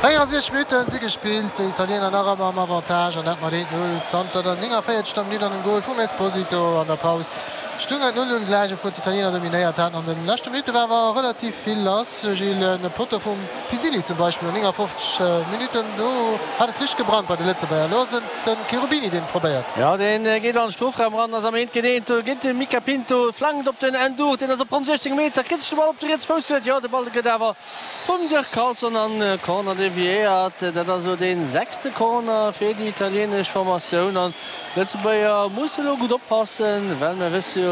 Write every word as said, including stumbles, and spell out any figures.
Véierundsechzeg Minutten si gespillt, déi Italiener nach ëmmer am Avantage an dat mat eent Null zanter der néngavéierzegter Minutt an dem Gol vum Esposito. An der Paus stung et null un gläich, obwuel d'Italiener dominéiert haten. An de leschte Minutte war awer relativ vill lass, Gilles. E Potto vum Pisilli zum Beispill no néngafofzeg Minutten, do hat et richteg gebrannt bei de Lëtzebuerger. Elo ass et de Cherubini, deen et probéiert. Jo, dee geet an de Strofraum eran, ass am Eent géint eent. Do geet de Mica Pinto, flankt op den Ndour, deen ass op ronn siechzéng Meter, kritt sech de Ball op de rietse Fouss geluet. Jo, de Ball gëtt awer vum Dirk Carlson an Corner deviéiert. Dat ass elo dee sechste Corner fir déi italienesch Formatioun an d'Lëtzebuerger musse elo gutt oppassen, well mir wësse jo,